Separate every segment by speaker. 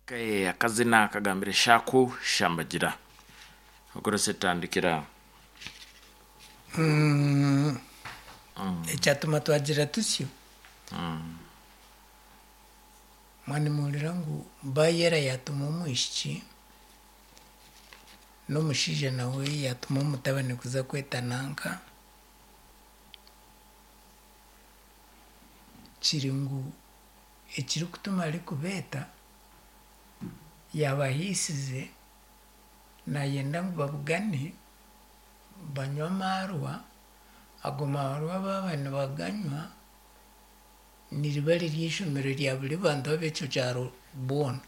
Speaker 1: Akazina akagambire Shaku Shambagira. Okorese tandikira.
Speaker 2: Ekyatuma twagira tusyo, mwanimuhurira ngu Bayera yatuma omwishiki n'omushaija nawe yatuma omutabani kuza kweta nanka, kiri ngu ekirikutuma arikubeeta yaabahiisize naayenda ngu babugane banywe amaarwa, ago maarwa baaba nibaganywa niriba riri eishomero rya buri bantu ab'ekyo kyaro boona.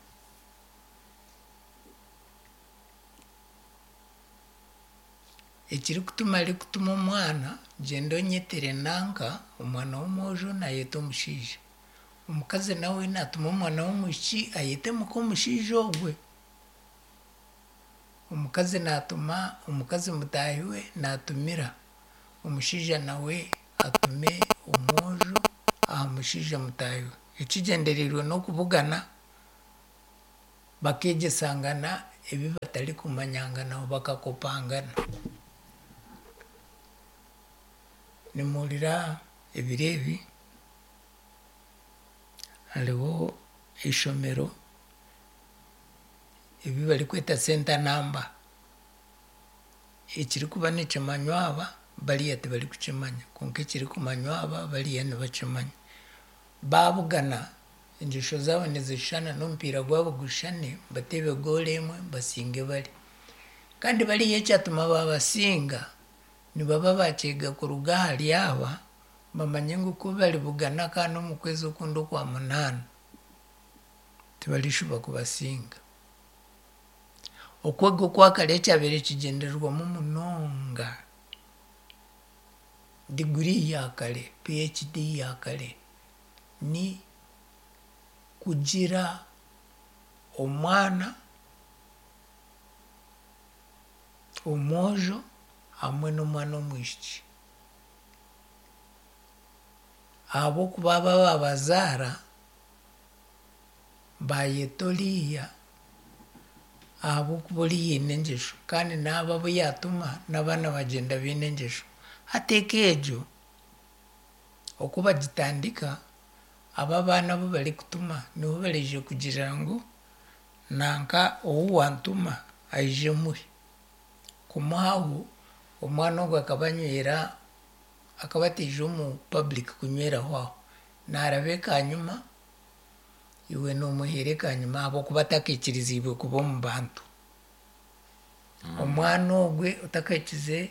Speaker 2: Ekirikutuma arikutuma omwana gyenda onyetere nanka, omwana w'omwojo naayeta omushaija. Omukazi nawe naatuma omwana w'omwishiki ayete muk'omushaija ogwe. Omukazi naatuma omukazi mutaahi we naatumira omushaija nawe atume omwojo aha mushaija mutaahi we. Ekigyendereirwe n'okubugana bakeegyesangana ebi batarikumanyanganaho bakakopangana. Nimuhurira ebiro ebi hariho eishomero ebi barikweta center number. Ekirikuba nikimanywa aba bariya tibarikukimanya kwonka ekirikumanywa aba bariya nibakimanya. Baabugana engyesho zaabo nizishushana n'omupiira gwabo gushushane bateebe goolo emwe basinge bari. Kandi bariya ekyatuma baabasinga nibaba baakyega kuruga ahari aba bamanye ngu ku baribugana akaana omu kwezi okundi okwa munaana tibarishuba kubasinga. Okwega okwakare ekyabaire kigyendererwamu munonga diguri ya kare, PhD ya kare ni kugira omwana omwojo hamwe n'omwana omwishiki. Ahabw'okuba aba ababazaara bayeta oriya ahabw'okuba oriya aine engyesho kandi n'abo abu yaatuma n'abaana bagyenda baine engyesho. Hati eka egyo oku bagitandika, abo abaana abu barikutuma nibo baraije kugira ngu nanka ou wantuma aije muhe. Kumuhaho, omwana ogwo akaba anywera, akaba ataija omu public kunyweraho aho. Naaraba ekanyima, iwe noomuheera ekanyima ahabw'okuba atakaikiriziibwe kuba omu bantu. Omwana ogwe otakahikize,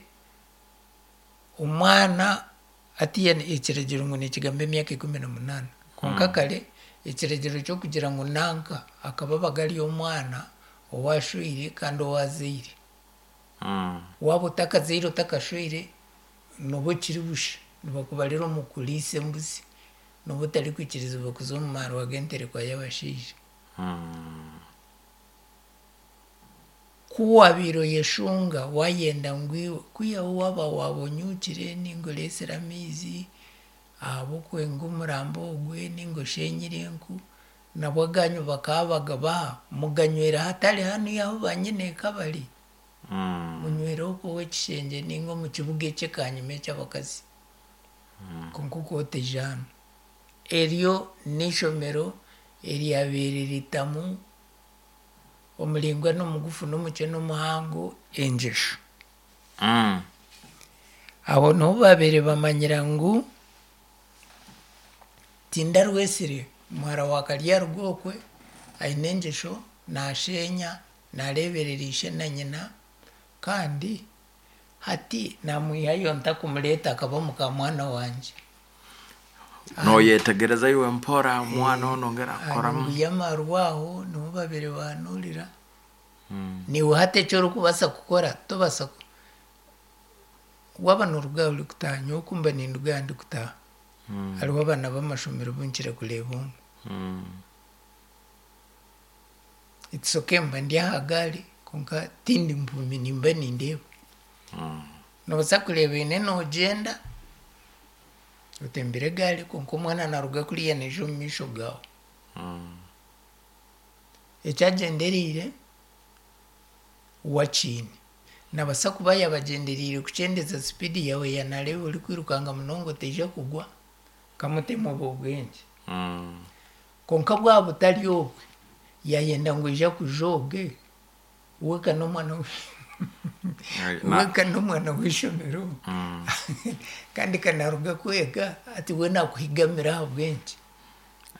Speaker 2: omwana hatiiya ekiragiro ngu nikigamba emyaka 18 kwonka kare ekiragiro ky'okugira ngu nanka akaba abaga ari omwana owaashweire kandi owaazaire. Waaba otakazaire otakashweire nooba okiri busha, nibakubarira omu kuriisa embuzi, nooba otarikwikirizibwa kuza omu maarwa g'enterekwa y'abashaija. Ku waabaire oyeshunga waayenda ngu iwe kwihaho waaba waabonyukire ninga oreesire amaizi ahabw'okwenga omurambo ogwe ninga oshenyire enku, nabwo aganyu bakaba bagabaha muganywera hatari hanuya ahu banyineeka bari. Munywere okwo ow'ekishengye ninga omu kibuga eky'ekanyima eky'abakazi. Kwonka okwo otaija hanu. Eryo n'eishomero eryabaire ritamu omuraingwa n'omugufu n'omukye n'omuhango engyesho. Aho niho baabaire bamanyira ngu tindarwesire muhara wa Karyarugo okwe aine engyesho naashenya, naareeberera ishe na nyina kandi hati naamwihayo nta kumureeta akaba mukaamwana wangye.
Speaker 1: Noyetegereza iwe mpora omwana onu ongera
Speaker 2: Aha
Speaker 1: kukoramu.
Speaker 2: nyungu y'amarwa aho niho baabaire bahanuurira. Naiwe hati eki orikubaasa kukora tobaasa ku waaba nooruga aha orikutaaha nyowe oku mba ninduga aha ndikutaaha hariho abaana b'amashomero bu nkira kureeba omwe. It's okay mba ndi aha gaari kwonka tindi mpumi nimba nindeeba. Noobaasa kureeba oine noogyenda otembire egaari kwonka omwana naaruga kuriya naija omu maisho gaawe. Eki agyendereire we akiine. Naabaasa kuba yaabagyendereire kukyendeza sipiidi yaawe yaaba naareeba orikwirukanga munonga otaija kugwa, kamutemu obwo bwengye. Kwonka bwaba butari obwe, yaayenda ngu oija kuja obwe, we ka n'omwana we ka n'omwana w'eishomero kandi ka naaruga kwega, hati we naakuhigamira ahabw'enki?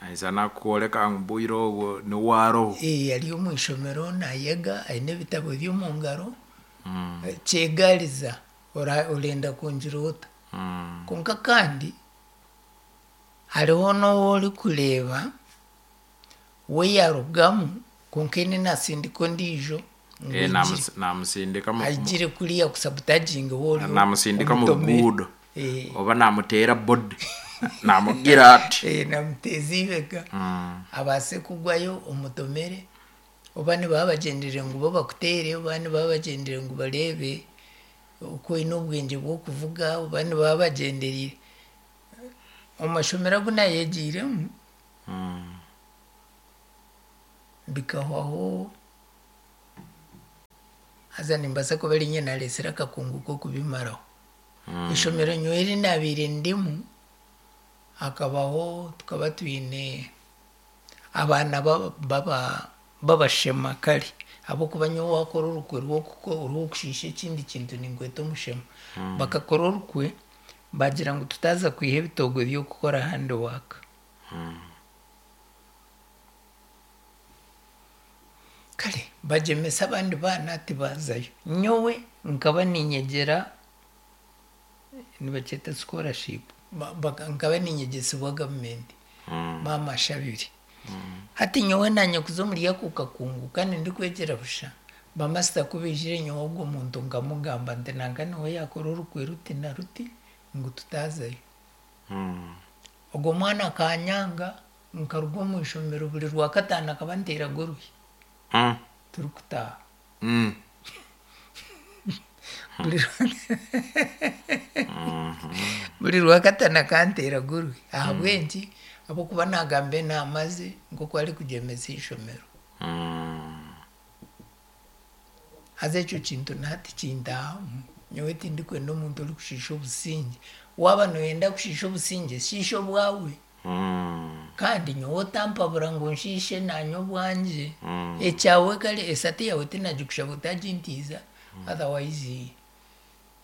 Speaker 1: Aija nakworeka ngu bwire obwo niwe aroho.
Speaker 2: Ee, ari omu ishomero naayega, aine ebitabo bye omu ngaro, kyegariza orenda kungira ota? Kwonka kandi hariho n'ou orikureeba we yaarugamu kwonka eine naatsindika ondiijo ngu
Speaker 1: Eh,
Speaker 2: aigire.
Speaker 1: namusindika mu-
Speaker 2: Aigire kuriya kusabutaginga ou ori
Speaker 1: namusindika mu
Speaker 2: omutomere.
Speaker 1: ruguudo
Speaker 2: Eh.
Speaker 1: oba namuteera body namugira ati
Speaker 2: Eh, namuteeza eibega abaase kugwayo omutomere oba nibaba bagyendereire ngu bo bakuteere oba nibaba bagyendereire ngu bareebe oku oine obwengye bw'okuvuga oba nibaba bagyendereire omu mashomero agu naayegyeiremu bikahwaho haza nimbaasa kuba rinye naareetsire akakungu k'okubimaraho. Eishomero nyowe eri naabaire ndimu hakabaho tukaba twine abaana b'abashema kare ahabw'okuba nyowe waakora orukwe rw'okushiisha ekindi kintu ninkweta omushema. Bakakora orukwe baagira ngu tutaaza kwiha ebitoogwe by'okukora handiwork. Kare bagyemesa abandi baana tibaazayo. Nyowe nkaba niinyegyera nibakyeta scholarship, nkaba niinyegyesibwa gavumenti maama ashabire. Hati nyowe naanye kuza omuri ako kakungu kandi ndikwegyera busha, bamasita ku baijire nyowe ogwo muntu nkamugamba nti nanka niwe yaakora orukwe ruti na ruti ngu tutaazayo. Ogwo mwana akanyanga nkaruga omu ishomero buri Rwakataano akaba anteeraga oruhi turikutaaha. Buri Rwakataano akanteeraga oruhi. Ahabw'enki? Ahabw'okuba naagamba enaama ze nk'oku arikugyemesa eishomero. Haza ekyo kintu na hati kintaahamu. Nyowe tindikwenda omuntu orikushiisha obusingye. Waaba nooyenda kushiisha obusingye, shiisha obwawe. Kandi nyowe otampabura ngu nshiishe naanye obwangye. Ekyawe kare esati yaawe tinagikushaba otagintiiza otherwise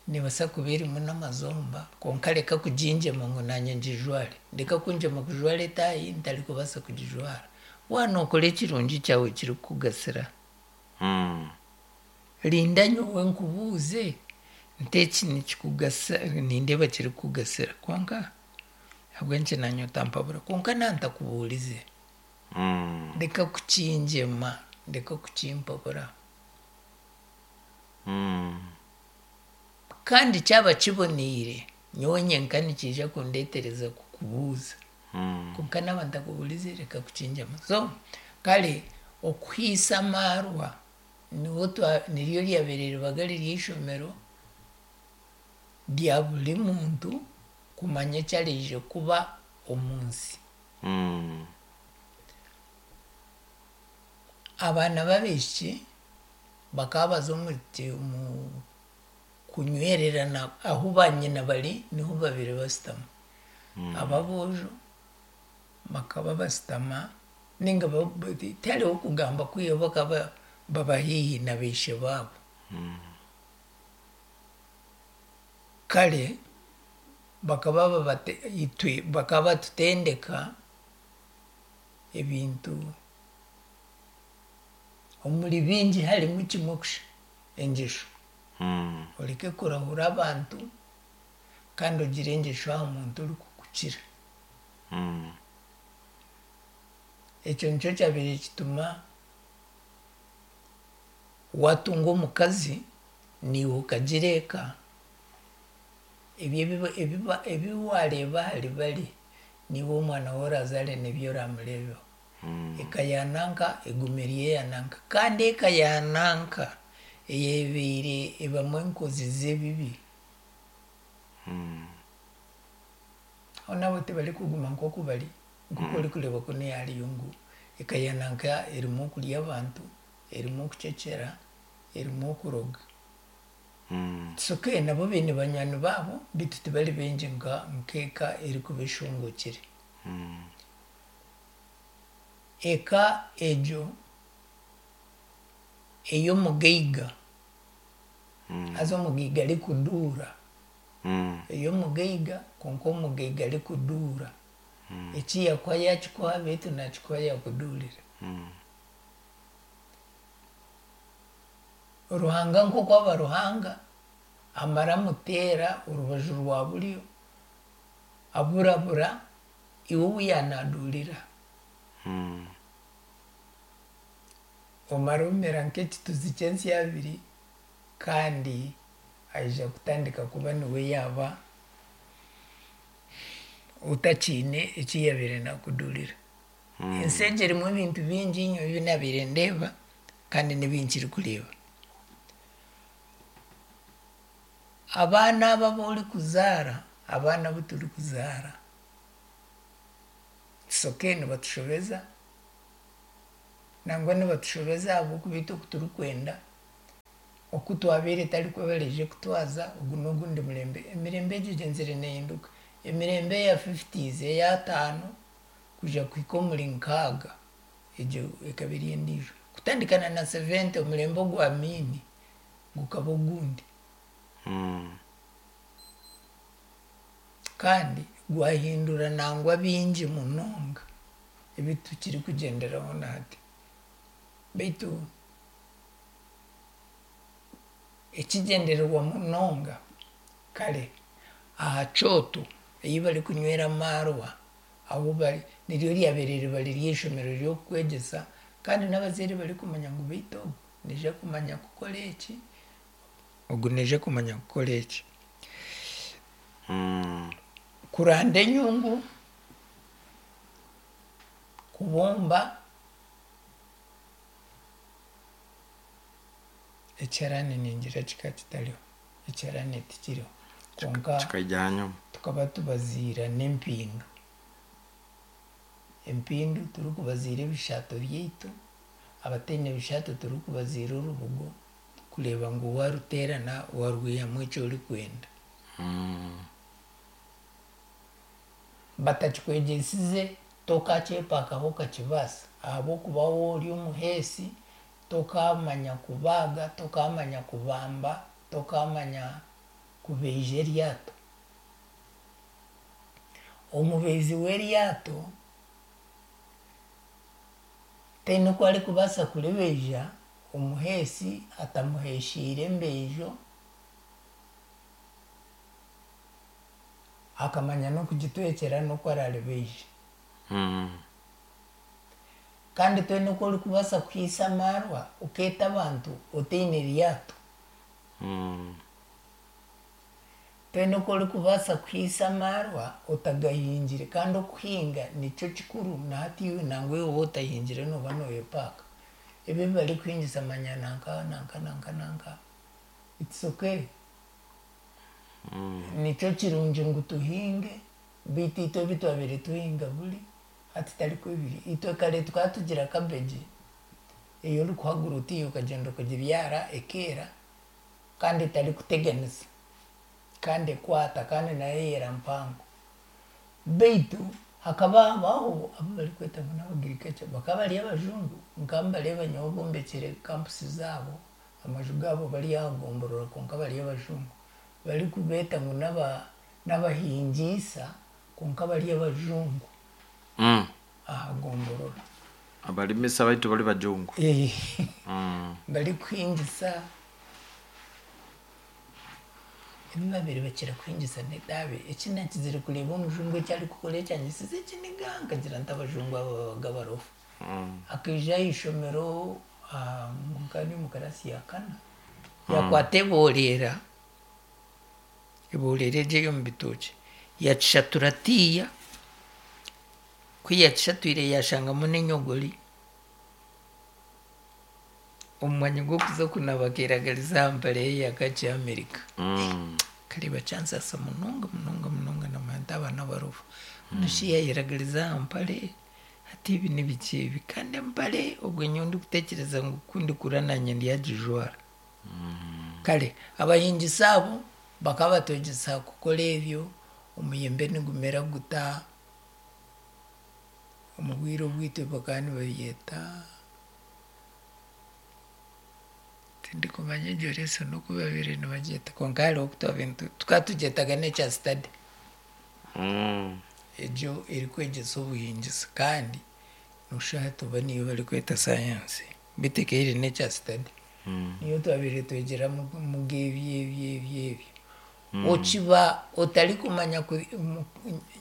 Speaker 2: neebaasa kuba erimu n'amazomba kwonka reka kugingyema ngu naanye ngijware. Reka kungyema kujwara etaayi ntarikubaasa kugijwara. Waaba nookora ekirungi kyawe kirikukugasira, rinda nyowe nkubuuze nti eki nikikugasa nindeeba kirikukugasira kwonka ahabw'enki naanye otampabura? Kwonka naaba ntakubuurize, reka kukingyema, reka kukimpabura. Kandi kyaba kiboneire, nyowe nyenka nikiija kundeetereza kukubuuza. Kwonka naaba ntakubuurize reka kukingyema. So kare okuhiisa amaarwa niho niryo ryabaire ribaga riri eishomero rya buri muntu kumanya eki araije kuba omu nsi. Abaana b'abaishiki bakaba baza omu kunywererana ahu banyina bari niho babaire bashutama. Ab'aboojo bakaba bashutama ninga tihariho kugamba kwihaho bakaba baba haihi na baishe baabo. Kare bakaba itwe bakaba batutendeka ebintu omuri bingi harimu kimwe kusha, engyesho. Oreke kurahura abantu kandi ogire engyesho aha muntu orikukukira. Ekyo nikyo kyabaire kituma waatunga omukazi naiwe okagira eka, ebyo ebi waareeba ahari bari niiwe omwana ou oraazaare nibyo oraamureebeho. Eka ya nanka egume eri eya nanka. Kandi eka ya nanka eyebaire ebamu enkozi z'ebibi, aho nabo tibarikuguma nk'oku bari, nk'oku orikureeba kunu hariyo ngu. Eka ya nanka erimu okurya abantu, erimu okucecera, erimu okuroga. It's okay nabo baine banywani baabo beitu tibari baingi nk'eka erikuba eshongokire. Eka egyo ey'omugaiga, haza omugaiga arikuduura, ey'omugaiga kwonka omugaiga arikuduura, eki yakuha yakikuha beitu nakikuha yakuduurira. Ruhanga nk'oku aba Ruhanga, amara amuteera orubaju rwa buryo, aburabura iwe ou yaanaduurira. Omara omera nk'ekituzi ky'ensyabiri kandi aija kutandika kuba niwe yaaba otakiine eki yaabaire naakuduurira. Ensi egi erimu ebintu bingi nyowe ebi naabaire ndeeba kandi n'ebi nkirikureeba. Abaana aba abu orikuzaara, abaana abu turikuzaara, it's okay nibatushobeza, nangwa nibatushobeza ahabw'okuba itwe oku turikwenda, oku twabaire tarikwo baraije kutwaza, ogu n'ogundi murembe. Emirembe egyo egyenzire neehinduka. Emirembe eya fifties, ey'ataano kwija kuhika omuri nkaaga, egyo ekaba eri endiijo. Kutandika na na seventy omurembe ogwa Amiini gukaba ogundi. Kandi gwahindura nangwa bingi munonga ebi tukirikugyenderaho na hati. Beitu ekigyendererwa munonga kare aha kyoto ei barikunywera amaarwa ahu bari niryo ryabaire riba riri eishomero ry'okukwegyesa kandi n'abazaire barikumanya ngu beitu ogu naija kumanya kukora eki, ogu naija kumanya kukora eki. Kuranda enyungu, kubumba ekiharani ningira kikaba kitariho, ekiharani tikiriho kwonka
Speaker 1: Kikaija ahanyima.
Speaker 2: tukaba tubaziira n'empindu. Empindu turikubaziira ebishaato byaitu, abataine bishaato turikubaziira orubugo kureeba ngu waaruteerana waarwihamu eki orikwenda. Batakikwegyesize tokakyepaakaho okakibaasa ahabw'okuba waaba ori omuheesi tokaamanya kubaaga, tokaamanya kubamba, tokaamanya kubeija eryato. Omubeizi w'eryato taine oku arikubaasa kuribeija omuheesi atamuheesheire embeijo akamanya n'okugitwekyera n'oku araaribeije. Kandi toine oku orikubaasa kuhaisa amaarwa okeeta abantu otaine ryato. Toine oku orikubaasa kuhaisa amaarwa otagahingire kandi okuhinga nikyo kikuru na hati iwe nangwa iwe waaba otahingire nooba nooyepaaka. Ebi ebi barikuhingisa manya nanka nanka nanka nanka it's okay. Nikyo kirungi ngu tuhinge beitu itwe ebi twabaire tuhinga buri hati tarikwo biri. Itwe kare tukaba tugira cabbage ei orikuhagura oti okagyenda okagibyara ekeera kandi etarikuteganisa kandi ekwata kandi nayo eyera mpango. Beitu hakaba habaho abu barikweta ngu n'abagriculture bakaba bari abajungu nkaba mbareeba nyowe bombekire campus zaabo amaju gaabo bari aha gomborora kwonka bari abajungu barikubeeta ngu n'abahingiisa kwonka bari abajungu aha gomborora.
Speaker 1: Abarimisa baitu bari bajungu.
Speaker 2: Barikuhingisa ebi babaire bakira kuhingisa n'etaabe. Eki nakizire kureeba omujungu eki arikukora ekyanyisize ekiniga nkagira nti abajungu aba babaga abarofa. Akaija aha ishomero nkaba ndi omu karaasi ya kana, yakwata eboreera, eboreera egyo ey'omu bitookye yakishatura tiiya, ku yakishatwire yashangamu n'enyogori, omu mwanya gw'okuza kunaaba akeeragariza aha mpare ye ya kaki America. Nkareeba kyansaasa munonga munonga munonga naamanya nti aba n'abarofa. Mbwenu shi yaayeragariza aha mpare? Hati ebi nibiki ebi? Kandi empare obwe nyowe ndikutekyereza ngu ku ndikura nanye ndyagijwara. Kare abahingisa abo bakaba batwegyesa kukora ebyo, omuyembe nigumera guta, omu bwire obwitu bakaba nibabyeta, tindikumanya egyo lesson oku babaire nibagyeta kwonka hariho oku twabaire nitu, tukaba tugyetaga nature study. Egyo erikwegyesa obuhingisa kandi noshusha hati oba niyo barikweta sayansi beitu ekaba eri nature study. Niyo twabaire twegyeramu ebyo ebyo ebyo ebyo. Okiba otarikumanya ku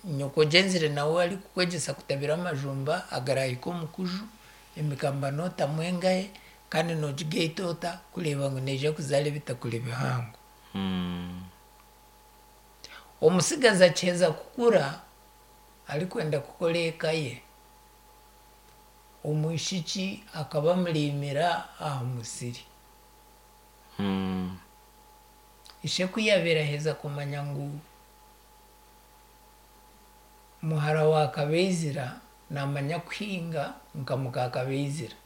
Speaker 2: nyoko ogyenzire nawe arikukwegyesa kutabira amajumba agarahike omu kuju, emikamba nootamu engahe kandi noogigaita ota kureeba ngu neija kuzaara ebitakuri bihango. Omutsigazi akiheza kukura arikwenda kukora eka ye, omwishiki akaba amuriimira aha musiri. Ishe ku yaabaire aheza kumanya ngu muhara wa Kabeizira naamanya kuhinga nka muka Kabeizira.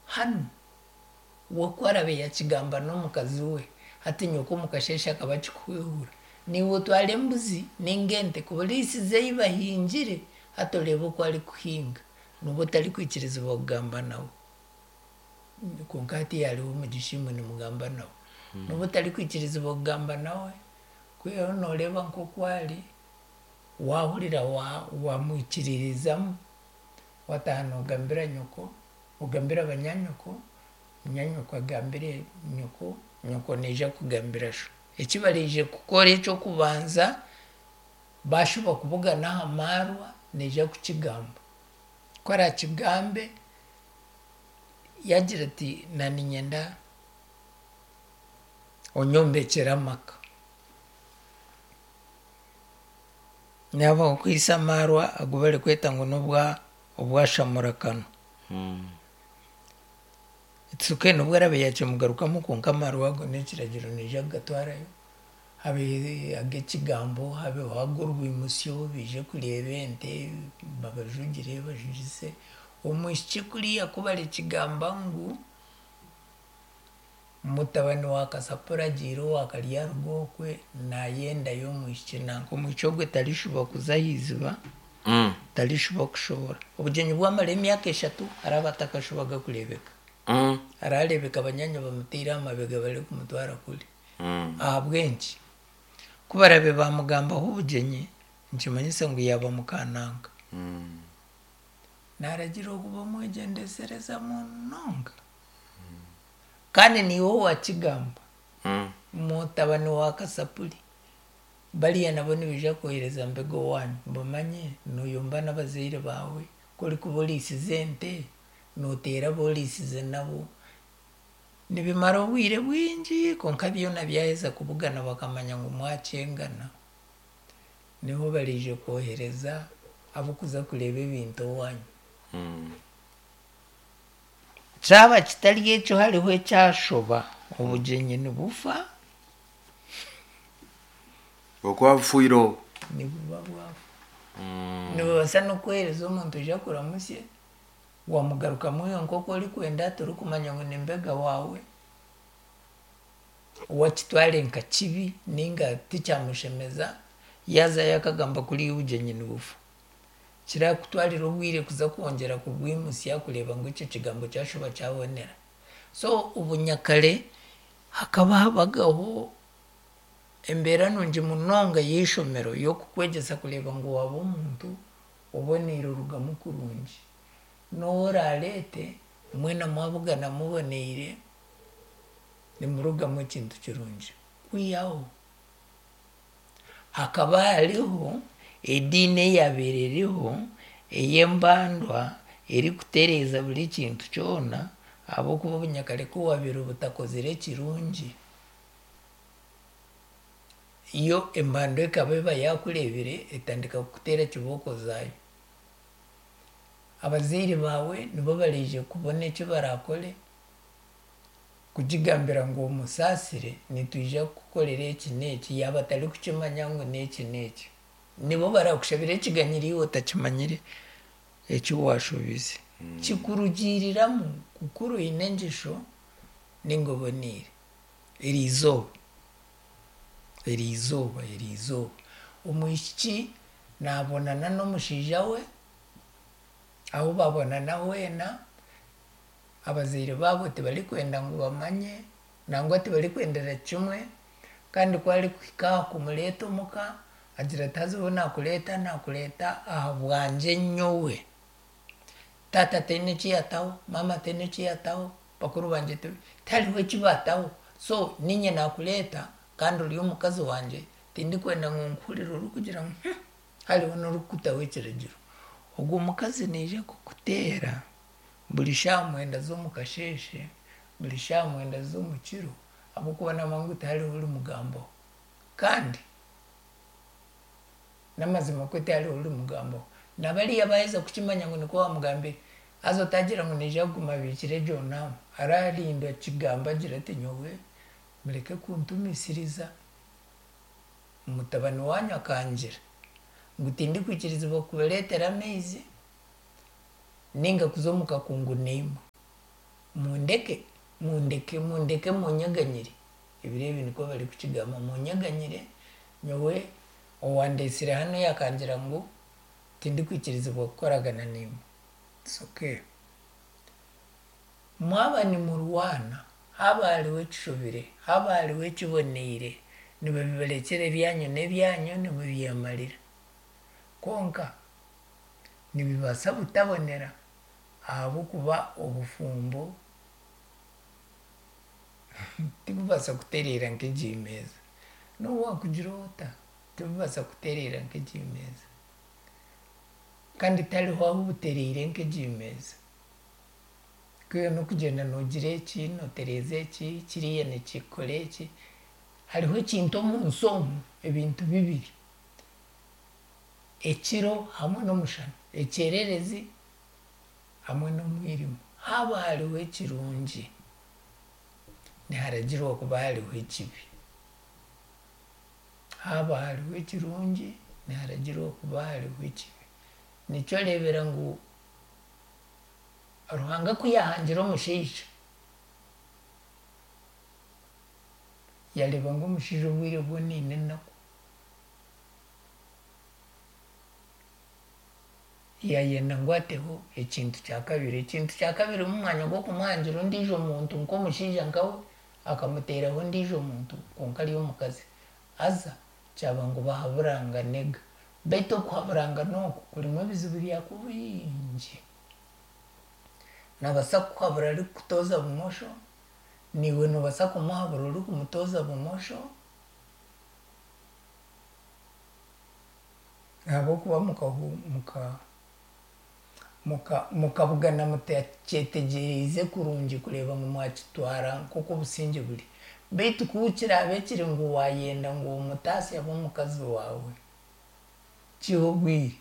Speaker 2: Hanu we ku araabe yaakigamba n'omukazi we, hati nyoko omu kasheeshe akaba akikuhwehura, naiwe otware embuzi nainga ente kuburiisiza ei bahingire, hati oreebe oku arikuhinga. Nooba otarikwikirizibwa kugamba nawe. Kwonka hati hariho omugisha imwe nimugamba nawe. Nooba otarikwikirizibwa kugamba nawe, kwihaho nooreeba nk'oku ari, waahurira waamwikiririzamu, waataaha noogambira nyoko, ogambira banyaanyoko, munyaanyoko agambire nyoko, nyoko naija kugambira sho. Eki baraije kukora eky'okubanza, baashuba kubugana aha maarwa, naija kukigamba. Ku araakigambe, yaagira ati naaniinyenda onyombekyere amaka. Naaba okwaitse amaarwa agu barikweta ngu n'obwa obwashamurakanwa. It's okay nobu araabe yaakimugarukamu kwonka amaarwa ago n'ekiragiro naija kugatwarayo habe ag'ekigambo habeho ag'orwimutsyo baije kureeba ente babajugire bajugise. Omwishiki kuriya ku barikigamba ngu Mutabani wa Kasapura agiire owa Karyarugo okwe nayendayo omwishiki nanka omwishiki ogwe tarishuba kuza aha iziba, tarishuba kushohora. Obugyenyi bwamara emyaka eshatu araba atakashubaga kureebeka. Arareebeka banyaanya bamuteire aha mabega barikumutwara kuri. Ahabw'enki? Ku barabe bamugambaho obugyenyi nikimanyisa ngu yaaba mukananka. Naragira ogu bamwegyendesereza munonga. Kandi niiwe owakigamba, mutabani wa Kasapuri, bariya nabo nibaija kwohereza mbega owaanyu, bamanye nooyomba n'abazaire baawe, ku orikuba oriisize ente, nooteera abu oriisize nabo. Nibimara obwire bwingi kwonka byona byaheza kubugana bakamanya ngu mwakyengana, niho baraije kwohereza ab'okuza kureeba ebintu owaanyu. Kyaba kitari ekyo hariho ekyashoba, obugyenyi nibufa.
Speaker 1: Okuba bufiire obwo.
Speaker 2: Nibuba bwafa. Nibabaasa n'okukuheereza omuntu oije akuramutsye, wamugarukamu iwe nk'oku orikwenda torikumanya ngu ni mbega waawe, we akitware nka kibi nainga tikyamushemeza, yaazayo akagamba kuriya obugyenyi nibufa. Kirakutwarira obwire kuza kwongyera kubwimutsya kureeba ngu ekyo kigambo kyashuba kyabonera. So obunyakare hakaba habagaho embeera nungi munonga y'eishomero y'okukwegyesa kureeba ngu waaba omuntu oboneire orugamu kurungi. N'ou oraareete mwena mwabugana muboneire nimurugamu ekintu kirungi. Kwihaho Hakaba hariho ediini eyaabaire eriho ey'embandwa erikutereeza buri kintu kyona ahabw'okuba obunyakare ku waabaire obutakozire ekirungi, yo embandwa ekaba eba yaakureebire etandika kukuteera kibooko zaayo. Abazaire baawe nibo baraije kubona eki baraakore. Kugigambira ngu omusaasire, nitwija kukukorera eki n'eki, yaaba atarikukimanya ngu n'eki n'eki. Nibo barakushabira ekiganyiro iwe otakimanyire eki waashobize. Kikurugiiriramu kukuru oine engyesho ninga oboneire. Eriizooba, eriizooba, eriizooba omwishiki naabonana n'omushaija we, ahu babonana hoona, abazaire baabo tibarikwenda ngu bamanye, nangwa tibarikwendera kimwe, kandi ku arikuhika aha kumureeta omuka, agira ati haza obu naakureeta, naakureeta ahabwangye nyowe. Taata taine eki yaataho, maama taine eki yaataho, bakuru bangye tihariho eki baataho, so niinye naakureeta kandi ori omukazi wangye, tindikwenda ngu nkuhurire orikugira ngu hmm, hariho n'orikukutaho ekiragiro. Ogwo mukazi naija kukuteera buri shaaha mwenda z'omu kasheeshe, buri shaaha mwenda z'omu kiro, ahabw'okuba naamanya ngu tihariho orimugambaho. Kandi n'amazima kwe tihariho orimugambaho. Na bariya baaheza kukimanya ngu nikwo waamugambire, haza otaagira ngu naija kuguma abiikire egyo naama, araarinda akigambe agire ati nyowe mureke kuntumisiriza, mutabani waanyu akangira ngu tindikwikirizibwa kubareetera amaizi ninga kuza omu kakungu naimwe. Mundeke, mundeke, mundeke munyeganyire, ebiro ebi nikwo barikukigamba, munyeganyire nyowe owandeetsire hanu yaakangira ngu tindikwikirizibwa kukoragana naimwe. It's okay. Mwaba nimurwana, haaba hariho ekishobire, haaba hariho ekiboneire, nibabibarekyera ebyanyu n'ebyanyu nimubyemarira. Kwonka nibibaasa butabonera ahabw'okuba obufumbo tibubaasa kutereera nk'egi meeza. N'obu waakugira ota, tibubaasa kutereera nk'egi meeza. Kandi tihariho ahu butereire nk'egi meeza. Kwiha n'okugyenda noogira eki, nootereeza eki, kiriya nikikora eki, hariho ekintu omunsi omu, ebintu bibiri, ekiro hamwe n'omushana, ekyererezi hamwe n'omwirima. Haaba hariho ekirungi, niharagirwa kuba hariho ekibi. Haaba hariho ekirungi, niharagirwa kuba hariho ekibi. Nikyo oreebera ngu Ruhanga ku yaahangire omushaija, yaareeba ngu omushaija obwire bwona aine enaku, yaayenda ngu ateho ekintu kya kabiri. Ekintu kya kabiri omu mwanya gw'okumuhangira ondiijo muntu nk'omushaija nkawe, akamuteeraho ondiijo muntu kwonka ari omukazi. Haza kyaba ngu bahaburanganega. Beitu okuhaburangana oku kurimu ebizibu byakwo bingi. Naabaasa kukuhabura arikukutooza bumosho, naiwe noobaasa kumuhabura orikumutooza bumosho, ahabw'okuba mukabugana mutakyetegyereize kurungi kureeba ngu mwakitwara nk'oku obusingye buri. Beitu ku kiraabe kiri ngu waayenda ngu omutaasye abe omukazi waawe, kihe obwire,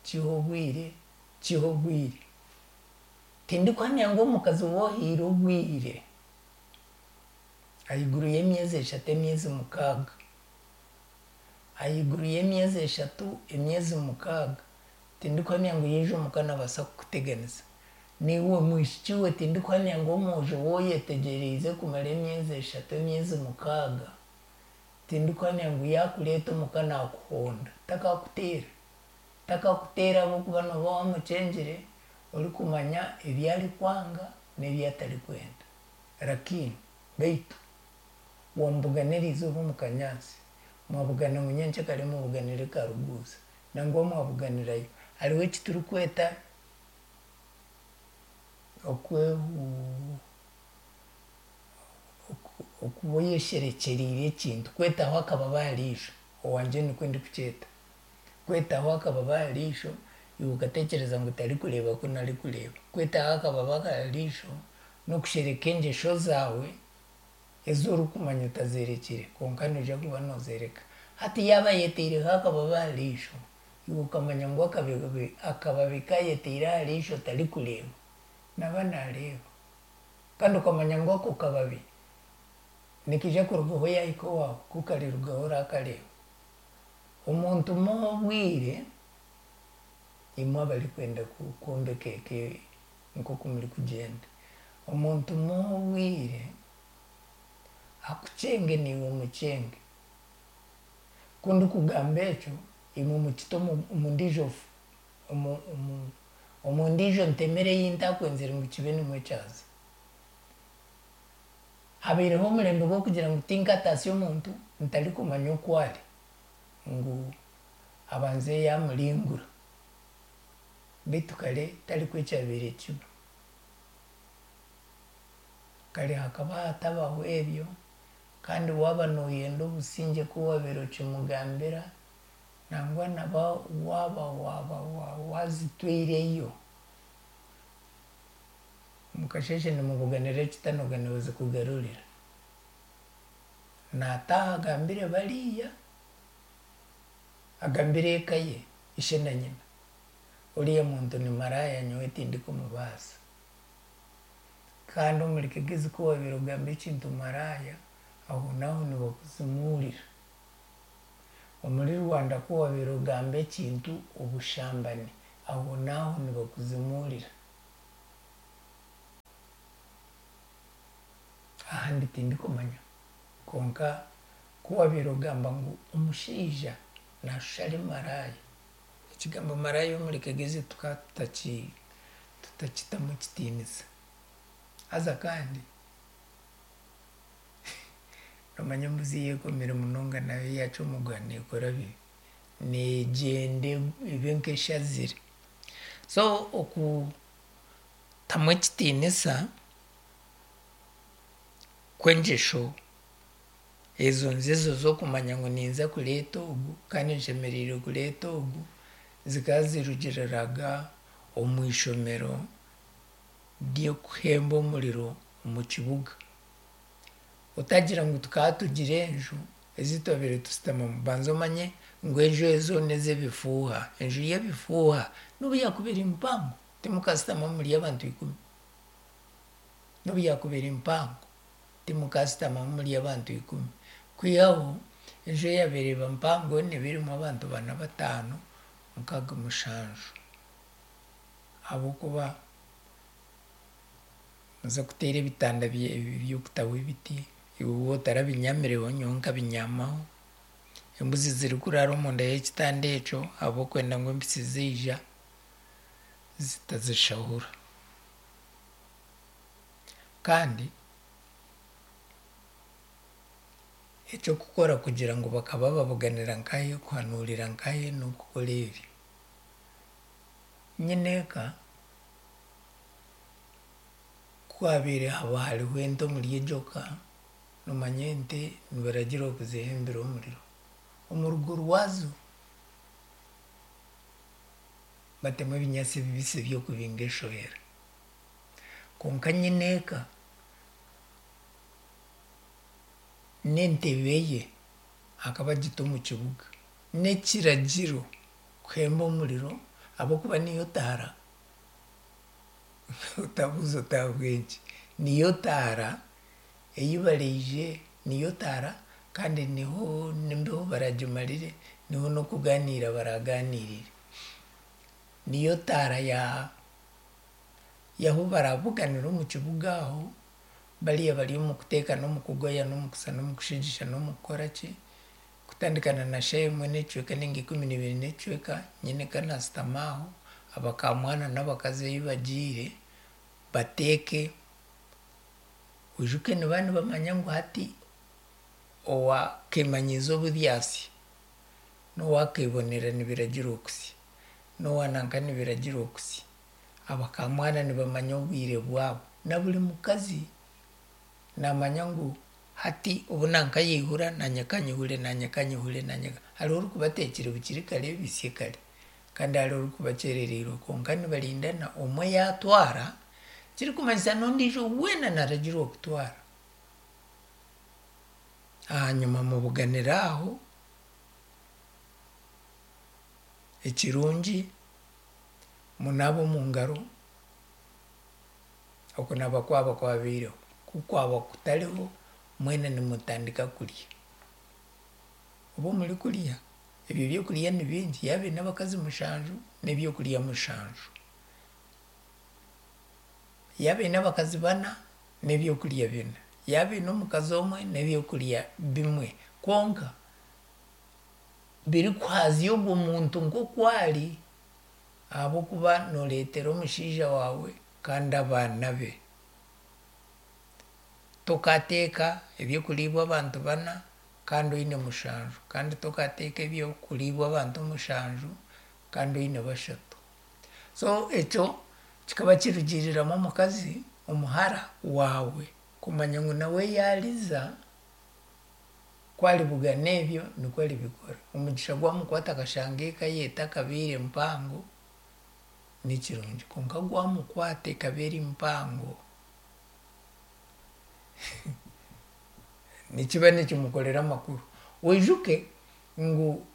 Speaker 2: kihe obwire, kihe obwire. Tindikuhamya ngu omukazi ou ohaire obwire ahaiguru y'emyezi eshatu emyezi mukaaga, ahaiguru y'emyezi eshatu emyezi mukaaga, tindikuhamya ngu yaija omuka naabaasa kukuteganisa. Naiwe mwishiki we tindikuhamya ngu omwojo ou oyetegyereize kumara emyezi eshatu emyezi mukaaga, tindikuhamya ngu yaakureeta omuka naakuhonda, takaakuteera. Takakuteera ahabw'okuba nooba waamukyengire orikumanya ebi arikwanga n'ebi atarikwenda. Rakini, beitu wamubugana eriizooba omu kanyaatsi, mwabugana ngu nyenkyakare mubuganire Karuguuza, nangwa mwabuganirayo. Hariho eki turikweta okuba oyesherekyereire ekintu, kwetaho akababa aha riisho, owangye nikwo ndikukyeta. Kwetaho akababa aha riisho, iwe okatekyereza ngu tarikureeba kunu arikureeba. Kwetaho akababa aha riisho n'okushereka engyesho zaawe ezi orikumanya otazerekire kwonka noija kuba noozereka. Hati yaaba ayeteireho akababa aha riisho, iwe okamanya ngu akababi ku ayeteire aha riisho tarikureeba, naaba naareeba. Kandi okamanya ngu ako kababi nikaija kurugaho yaahika owaawe, ku karirugaho oraakareeba. Omuntu muhe obwire, imwe abarikwenda kwombeka eka nk'oku murikugyenda, omuntu muhe obwire akukyenge naiwe omukyenge. Ku ndikugamba ekyo, imwe mukite omu ndiijo omu ndiijo ntemere ei ntakwenzire ngu kibe nimwo kyaza. Habaireho omurembe gw'okugira ngu tinkataasya omuntu ntarikumanya oku ari, ngu abanze yaamuringura. Beitu kare tarikwo ekyabaire kiba. Kare hakaba hatabaho ebyo kandi waaba nooyenda obusingye ku waabaire okimugambira, nangwa na waaba waaba waazitwaireyo, omu kasheeshe nimubuganira ekitanoga nibazikugarurira. Naataaha agambire bariya, agambire eka ye, ishe na nyina, oriya muntu ni maraaya nyowe tindikumubaasa. Kandi omuri Kigezi ku waabaire ogamba ekintu maraaya, ahonaaho nibakuzimuurira. Omuri Rwanda ku waabaire ogamba ekintu obushambani, ahonaaho nibakuzimuurira. Ahandi tindikumanya kwonka ku waabaire ogamba ngu omushaija naashusha ari maraaya, ekigambo maraaya omuri Kigezi tukaba tutakitamu ekitiinisa. Haza kandi noomanya embuzi eyekomire munonga nayo yaacwa omuguha neekora bibi, neegyenda ebe nk'eshazire. So okutamu ekitiinisa kw'engyesho ezo nzizo z'okumanya ngu ninza kureeta ogu kandi nshemereire kureeta ogu, zikaba zirugiriraga omu ishomero ry'okuhemba omuriro omu kibuga. Otagira ngu tukaba tugira enju ezi twabaire tushutamamu, banza omanye ngu enju ezo n'ezebifuuha. Enju y'ebifuuha nobu yaakuba eri mpango, timukashutamamu muri abantu ikumi. Nobu yaakuba eri mpango, timukashutamamu muri abantu ikumi. Kwihaho enju eyaabaire eba mpango neeba erimu abantu bana, bataano, mukaaga, mushanju. Ahabw'okuba muze kuteera ebitanda by'okutaho ebiti, iwe waaba otarabinyamireho nyowe nkabinyamaho, embuzi zirikuraara omunda y'ekitanda ekyo ahabw'okwenda ngu empitsi zaija zitazishahura. Kandi eky'okukora kugira ngu bakaba babuganira nkahe, kuhanuurira nkahe n'okukora ebi. Nyineeka ku haabaire haba hariho ente omuri egyo ka, noomanya ente nibaragirwa kuzihembera omuriro. Omu rugo rwazo batemu ebinyaatsi bibisi by'okubinga eshohera. Kwonka nyineeka n'entebe ye akaba agita omu kibuga. N'ekiragiro kuhemba omuriro ahabw'okuba niyo taara, otabuuza oti ahabw'enki, niyo taara ei baraije, niyo taara kandi niho n'embeho baragimarire, niho n'okugaaniira baragaaniirire. Niyo taara ya y'ahu barabuganire omu kibuga aho, bariya bari omu kuteeka n'omu kugoya n'omu kusa n'omu kushigisha n'omu kukora ki, kutandika na shaaha emwe n'ekicweka nainga 12 n'ekicweka, nyineeka naashutama aho, abakaamwana n'abakazi ei bagiire bateeke, oijuke nibaba nibamanya ngu hati owaakeemanyiiza oburyasya n'owaakeebonera nibiragirwa kusya, n'owa nanka nibiragirwa kusya. Abakaamwana nibamanya obwire bwabo. Na buri mukazi naamanya ngu hati obu nanka yaihura naanye kanyihure, naanye kanyihure, naanye hariho orikuba ateekire bukiri kare bisye kare kandi hariho orikuba akyerereirwe kwonka nibarindana omwe yaatwara kirikumanyisa n'ondiijo weena naaragirwa kutwara. Ahanyima mubuganire aho, ekirungi munaabe omu ngaro, okunaaba kwaba kwabaireho, ku kwaba kutariho mwena nimutandika kurya. Obu murikurya. Ebyo byokurya ni bingi, yaaba aine abakazi mushanju, n'ebyokurya mushanju. Yaaba aine abakazi bana, n'ebyokurya bina. Yaaba aine omukazi omwe, n'ebyokurya bimwe. Kwonka birikuhaazya ogwo muntu nk'oku ari, ahabw'okuba nooreetera omushaija waawe kandi abaana be. Tokaateeka eby'okuriibwa abantu bana kandi oine mushanju, kandi tokaateeka eby'okuriibwa abantu mushanju kandi oine bashatu. So ekyo kikaba kirugiiriramu omukazi, omuhara waawe kumanya ngu nawe yaariza, ku aribugana ebyo nikwo aribikora. Omugisha gwamukwata akashanga eka ye etakabaire mpango, nikirungi kwonka gwamukwata ekaba eri mpango, nikiba nikimukorera amakuru. Oijuke ngu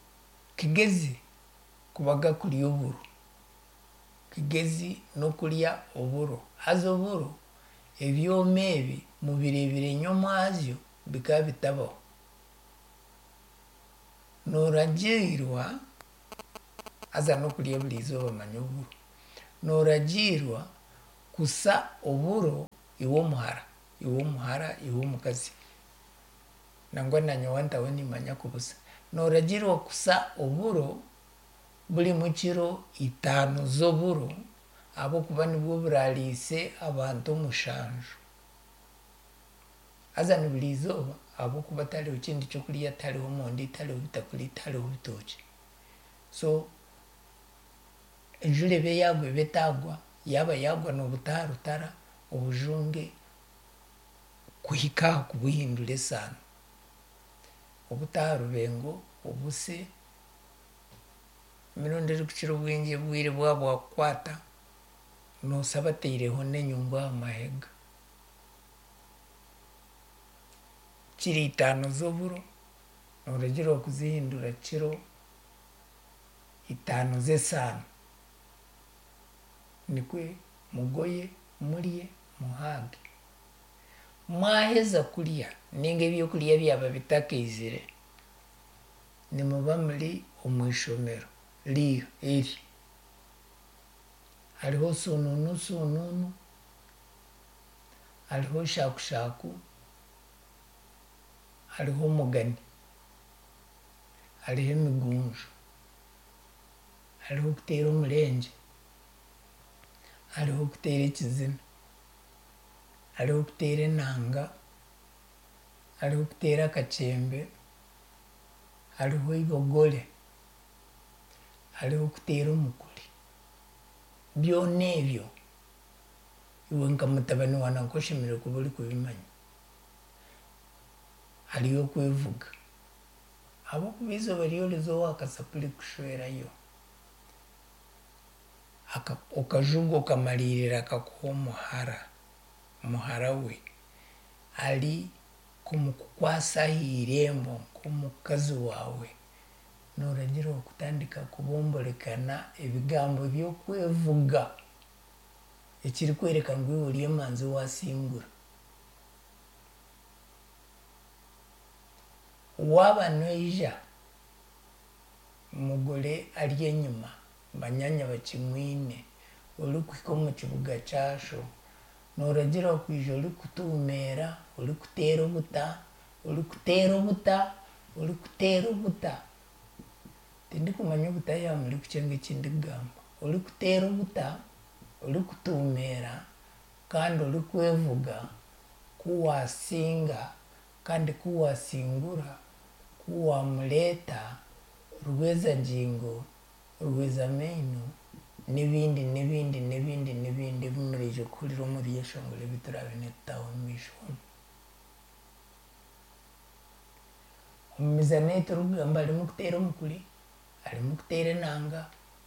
Speaker 2: Kigezi kubaga kurya oburo, Kigezi n'okurya oburo, haza oburo ebyoma ebi mubireebire nyomwazyo bikaba bitabaho. Nooragiirwa, haza n'okurya buri izooba manya oburo, nooragiirwa kusa oburo iwe omuhara, iwe omuhara, iwe omukazi, nangwa naanye wantaho niimanya kubusa. Nooragiirwa kusa oburo burimu kiro itaano z'oburo ahabw'okuba nibwo buraariise abantu mushanju. Haza ni buri izooba ahabw'okuba tihariho kindi ky'okurya, tihariho mondi, tihariho bitakuri, tihariho bitookye. So enjura ebe yaagwa ebe etaagwa, yaaba yaagwa noobuta aha rutara obujunge kuhika aha kubuhindura esaano. Obute aha rubengo obuse, emirundi erikukira obwingi obwire bwaba bwakukwata, noosa bataireho n'enyungu aha mahega. Kiro itaano z'oburo, nooragiirwa kuzihindura kiro itaano z'esaano. Nikwe mugoye, murye, muhaage. Mwaheza kurya ninga ebyokurya byaba bitakaizire, nimuba muri omu ishomero eri. Hariho sunuunu sunuunu, hariho shaakushaku, hariho omugani, hariho emigunju, hariho okuteera omurengye, hariho okuteera ekizina, hariho okuteera enanga, hariho okuteera akakyembe, hariho eibogore, hariho okuteera omukuri. Byona ebyo iwe nka mutabani wa nanka oshemereire kuba orikubimanya. Hariyo okwevuga ahabw'okuba eizooba ry'oriza owa kasapuri kushwerayo, okajuga okamariirira akakuha omuhara, muhara we ari kumukukwasa aha irembo nk'omukazi waawe, nooragira okutandika kubomborekana ebigambo by'okwevuga ekirikworeka ngu iwe ori emanzi waasingura. Waaba noija, omugore ari enyima, banyaanya bakimwine, orikuhika omu kibuga kya sho, nooragira kwija orikutuumeera, orikuteera obuta, orikuteera obuta, orikuteera obuta. Tindikumanya obuta yaaba murikukyenga eki ndikugamba. Orikuteera obuta, orikutuumeera kandi orikwevuga ku waasinga kandi ku waasingura, ku waamureeta, rweza-ngingo, rweza-maino, n'ebindi n'ebindi n'ebindi n'ebindi ebi muraije kuhurira omu byeshongoro ebi turaabe nitutaho omu maisho omu. Omu mizaano ei turikugamba harimu kuteera omukuri, harimu kuteera enanga,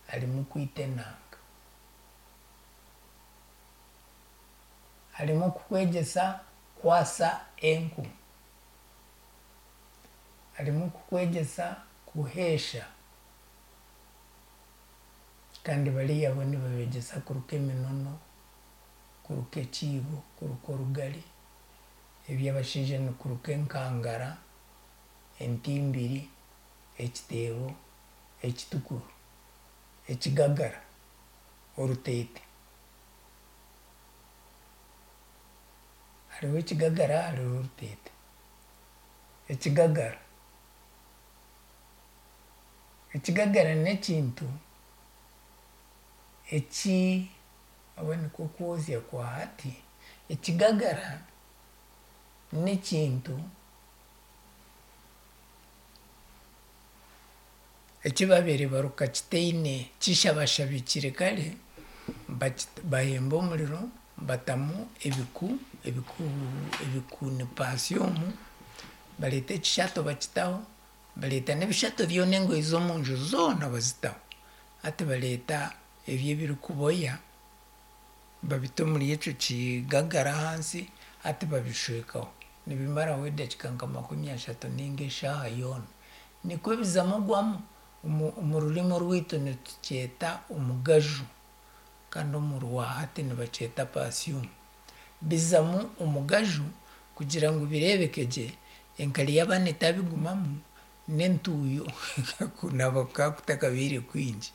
Speaker 2: harimu kwita enanga. Harimu kukwegyesa kwasa enku, harimu kukwegyesa kuheesha kandi bariya bo nibabeegyesa kuruka eminono, kuruka ekiibo, kuruka orugari, eby'abashaija nikuruka enkangara, entimbiri, ekiteebo. Ekitukuru, ekigagara, oruteete. Hariho ekigagara hariho oruteete. Ekigagara, ekigagara n'ekintu eki oba nikwo kwozya kwa hati, ekigagara n'ekintu eki babaire baruka kitaine kishabashabikire kare, bahemba omuriro batamu ebiku, ebiku ebiku ni paasiyumu, bareeta ekishato bakitaho, bareeta n'ebishato byona engoyi z'omunju zoona bazitaho. Hati bareeta ebyo ebirikuboya babita omuri ekyo kigagara ahansi hati babishwekaho. Nibimaraho edakiika nka 30 ninga eshaaha yoona. Nikwo bizamu gwamu, omu rurimi orwaitu nitukyeta omugaju kandi omu rwahati nibakyeta paasiyumu. Bizamu omugaju kugira ngu bireebeke gye, enkari y'abaana etabigumamu n'entuuyo kunaaba kukaba kutakabaire kwingi,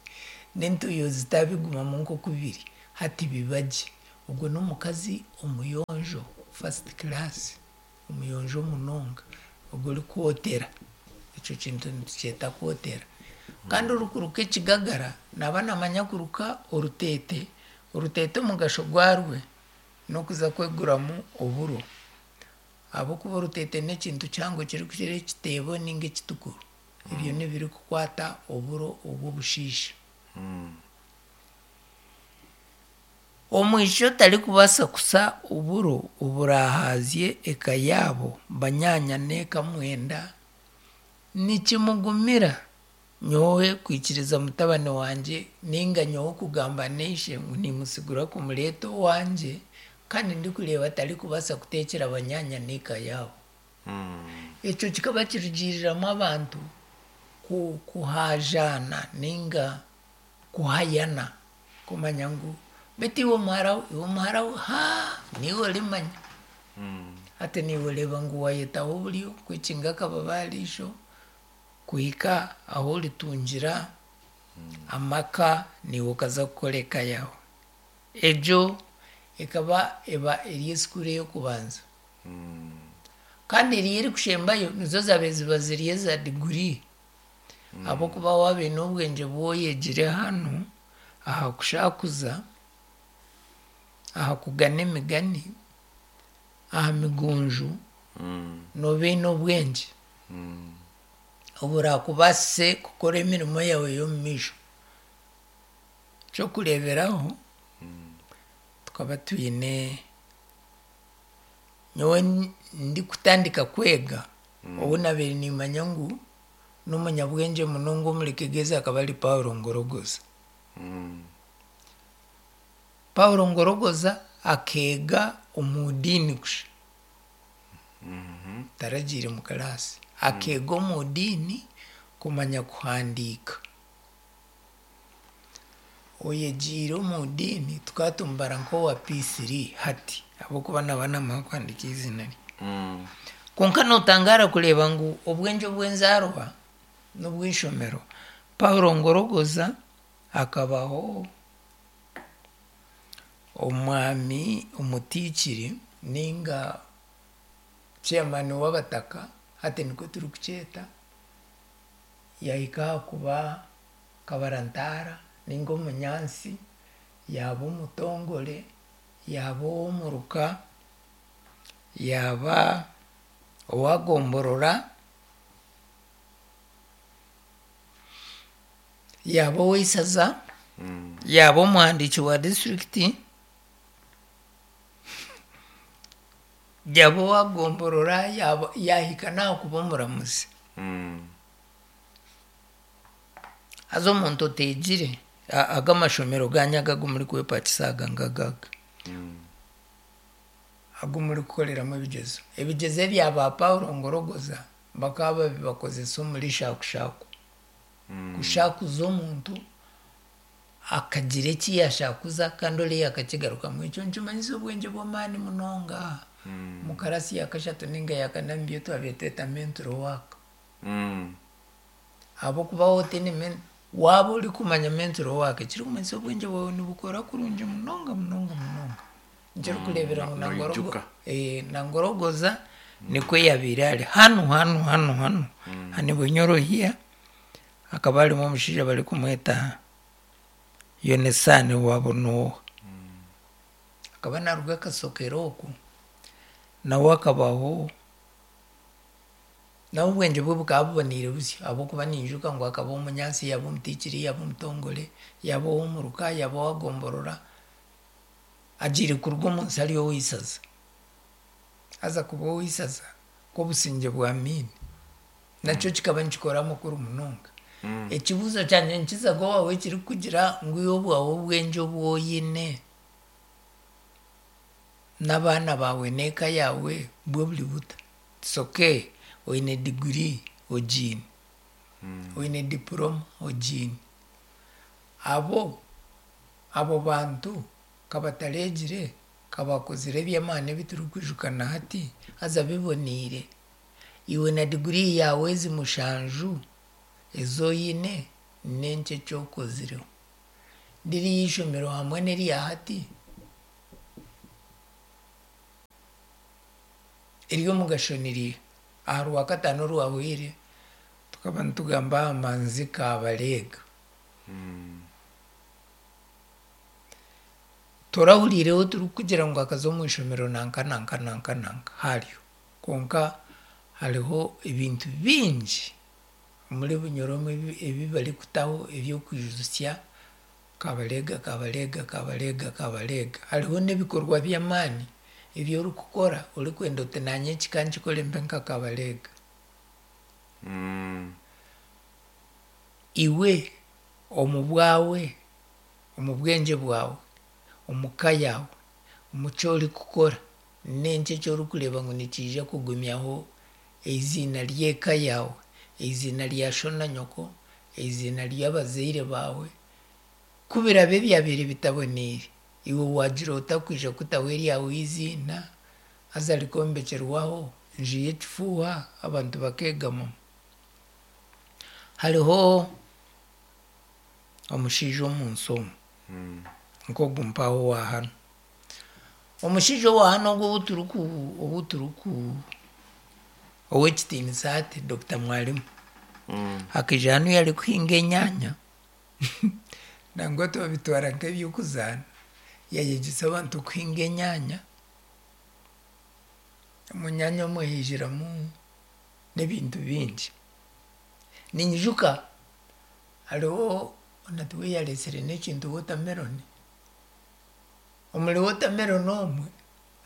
Speaker 2: n'entuuyo zitabigumamu nk'oku biri, hati biba gye. Ogwo n'omukazi omuyonjo first class, omuyonjo munonga, ogwo orikwotera, ekyo kintu nitukyeta kwotera. Kandi orikuruka ekigagara naaba naamanya kuruka oruteete, oruteete omugasho gwarwe n'okuza kweguramu oburo ahabw'okuba oruteete n'ekintu kihango kirikukira ekiteebo ninga ekitukuru. Ebyo n'ebirikukwata oburo obw'obushiisha. Omwishiki otarikubaasa kusa oburo oburahaazye eka yaabo, banyaanya n'eka mwenda, nikimugumira nyowe kwikiriza mutabani wangye ninga nyowe kugamba n'eishe ngu nimusigura kumureeta owangye kandi ndikureeba atarikubaasa kuteekyera banyaanya n'eka yaabo. Ekyo kikaba kirugiiriramu abantu kuhaajaana ninga kuhayana kumanya ngu beitu iwe muhara we, iwe muhara we, haa niiwe orimanya. Hati naiwe oreeba ngu waayetaho oburyo kwekinga akababa aha riisho kuhika ahu oritungira amaka naiwe okaza kukora eka yaawe. Egyo ekaba eba eri esikuuru ey'okubanza. Kandi eriyo erikushembayo nizo zaabaire ziba ziri eza diguri ahabw'okuba waaba oine obwengye obu oyegire hanu aha kushakuza, aha kugana emigani, aha migunju, nooba oine obwengye oburakubaasise kukora emirimo yaawe y'omumaisho. Ekyokureeberaho, tukaba twine nyowe ndikutandika kwega, ou naabaire niimanya ngu n'omunyabwengye munonga omuri Kigezi akaba ari Paulo Ngorogoza. Paulo Ngorogoza akeega omu diini kusha, taragiire mu kiraasi. Akeega omu diini kumanya kuhandiika. Oyegiire omu diini tukaba tumubara nk'owa P3 hati ahabw'okuba naaba naamanya kuhandiika eiziina rye. Kwonka nootangaara kureeba ngu obwengye obw'enzaarwa n'obw'eishomero, Paulo Ngorogoza akabaho omwami omutiikiri ninga chairman w'abataka hati nikwo turikukyeta, yaahika aha kuba kabarantaara ninga omunyansi, yaaba omutongore, yaaba ow'omuruka, yaaba owagomborora, yaaba ow'eisaza, yaaba omuhandiiki wa disiturikiti, yaaba owagomborora, yaahika n'aha kuba omuramuzi. Haza omuntu oteegire, aga amashomero gaanyu aga agu murikwepakisa aga ngagaga, agu murikukoreramu ebigyezo. Ebigyezo ebya ba Paulo Ngorogoza bakaba babibakozesa omuri shaakushaku. Kushakuza omuntu akagira eki yaashakuza kandi oriya akakigarukamu. Ekyo nikimanyisa obwengye bw'amaani munonga. Omu karaasi ya kashatu ninga ya kana nibyo twabaire tweta mental work. Ahabw'okuba waaba otaine. Waaba orikumanya mental work ekirikumanyisa obwengye bwawe nibukora kurungi munonga munonga munonga. Nikyo orikureebera ngu
Speaker 1: Noijuka.
Speaker 2: Nangorogoza nikwo yabaire ari. Hanu hanu hanu hanu hanu Bunyorohia hakaba harimu omushaija barikumweta Yonasaani wa Bunooha. Akaba naaruga Kasokero okwo, nawe akabaho, nawe obwengye bwe bukaba buboneire busyo ahabw'okuba ninyijuka ngu akaba omunyansi, yaaba omutiikiri, yaaba omutongore, yaaba ow'omuruka, yaaba ow'agomborora, agiire kuruga omu nsi ari ow'eisaza. Haza kuba ow'eisaza k'obusingye bwa Amiini, nakyo kikaba nikikora amakuru munonga. Ekibuuzo kyangye nikizaga owaawe ekirikugira ngu iwe obwawe obwengye obu oine n'abaana baawe n'eka yaawe bwo buri buta? It's okay oine diguri ogiine, oine diporoma ogiine, abo abo bantu ka batareegire, ka baakozire eby'amaani ebi turikwijuka na hati haza biboneire, iwe na diguri yaawe ezi mushanju ezi oine n'enki eki okozireho? Ririya eishomero hamwe n'erya hati ery'omugasho ni riiha? Aha Rwakataano orwahweire tukaba nitugamba aha manzi Kabareega. Torahuriireho turikugira ngu akaza omu ishomero nanka nanka nanka nanka haryo. Kwonka hariho ebintu bingi omuri Bunyoro omu ebi barikutaho eby'okwijutsya Kabareega Kabareega Kabareega Kabareega. Hariho n'ebikorwa by'amaani ebi orikukora orikwenda oti naanye eki kankikore mbe nka Kabareega. Iwe omu bwawe, omu bwengye bwawe, omu ka yaawe, omu ki orikukora, n'enki eki orikureeba ngu nikiija kugumyaho eiziina ry'eka yaawe, eiziina rya sho na nyoko, eiziina ry'abazaire baawe? Ku biraabe byabaire bitaboneire, iwe waagira ota kwija kutaho eryawe eiziina haza rikombekyerwaho enju y'ekifuuha abantu bakeegamamu? Hariho omushaija omu nsi omu, nk'ogu mpaho owa hanu. Omushaija owa hanu ogu ou turiku ou turiku ow'ekitiinisa hati Dokita Mwalimu, akaija hanu yarikuhinga enyaanya nangwa twabitwara nk'eby'okuzaana, yayegyesa abantu kuhinga enyaanya, omu nyaanya omwe haijiramu n'ebintu bingi. Ninyijuka hariho nati we yareetsire n'ekintu watermelon, omuri watermelon omwe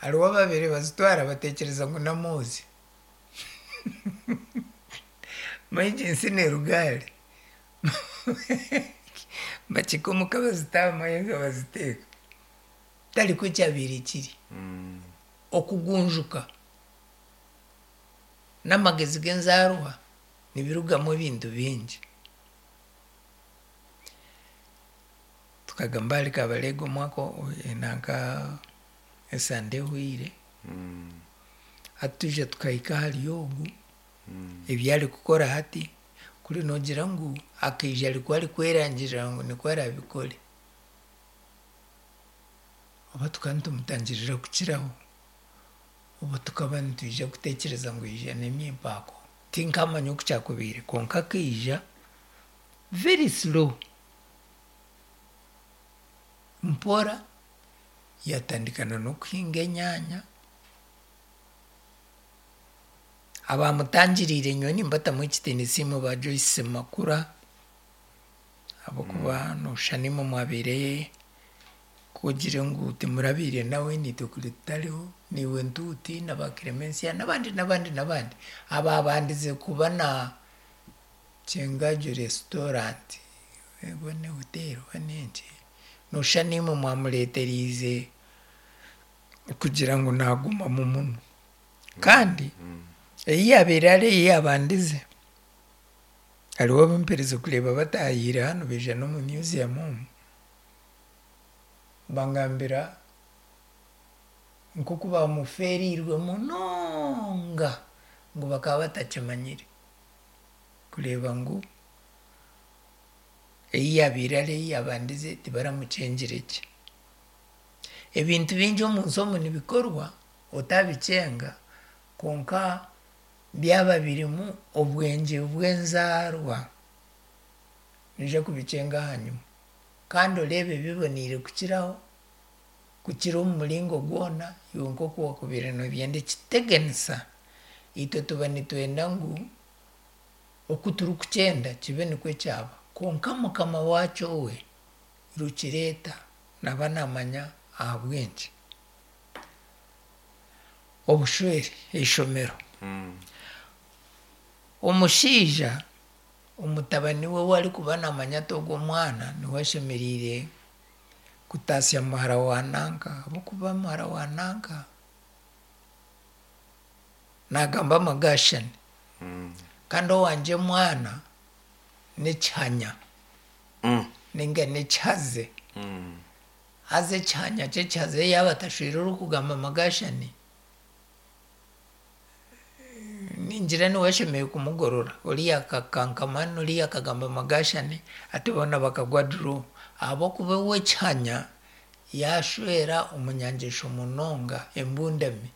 Speaker 2: hariho ababaire bazitwara batekyereza ngu n'amoozi. Manya egi ensi neeruga hare. Bakihika omuka bazita aha mahega baziteeka. Tarikwo kyabaire kiri. Okugunjuka n'amagezi g'enzaarwa nibirugamu ebintu bingi. Tukagamba ahari Kabalega omwaka nanka esande ehweire, hati twija tukahika ahari ogu, ebi arikukora hati, kuri noogira ngu akaija arikwo arikwerangirira ngu nikwo araabikore, oba tukaba nitumutangirira kukiraho, oba tukaba nitwija kutekyereza ngu yaija n'emyempaako. Tinkamanya oku kyakubaire kwonka akaija very slow, mpora yatandika n'okuhinga enyaanya. Abaamutangiriire nyowe nimbatamu ekitiinisa imwe ba Joyce Makura ahabw'okuba nooshusha nimwe mwabaire ku ogire ngu timurabaire nawe naitwe kuri tutariho, naiwe Ntuuti na ba Clemencia n'abandi n'abandi n'abandi abaabandize kuba na Kyengaju restaurant oba ni hoteeri oba n'enki, nooshusha naimwe mwamureeteriize kugira ngu naagumamu muno. Kandi ei yaabaire ari ei yaabandize, hariho abu mperize kureeba bataahiire hanu baija n'omu museum omu, bangambira nk'oku baamufeereirwe munonga ngu bakaba batakimanyire kureeba ngu. Ei yaabaire ari ei yaabandize tibaramukyengire gye. Ebintu bingi omu nsi omu nibikorwa otaabikyenga kwonka byaba birimu obwengye bw'enzaarwa noija kubikyenga ahanyima. Kandi oreebe biboneire kukiraho, kukira omu muringo gwona iwe nk'oku waakubaire noobyenda. Ekiteganisa itwe tuba nitwenda ngu oku turikukyenda kibe nikwo kyaba. Kwonka mukama waakyo we rukireeta naaba naamanya ahabw'enki. Obushwere, eishomero. Omushaija omutabani we ou arikuba naamanya ati ogu omwana niwe ashemereire kutaasya muhara wa nanka ahabw'okuba muhara wa nanka naagamba amagaashani kandi owangye omwana n'ekihanya ninga n'ekihaze. Haza ekihanya ky'ekihaze yaaba atashweire orikugamba amagaashani, ningira niwe ashemereire kumugorora. Oriya akakankama n'oriya akagamba amagaashani hati boona bakagwa draw. Ahabw'okuba we ekihanya yaashwera omunyangyesho munonga embundami.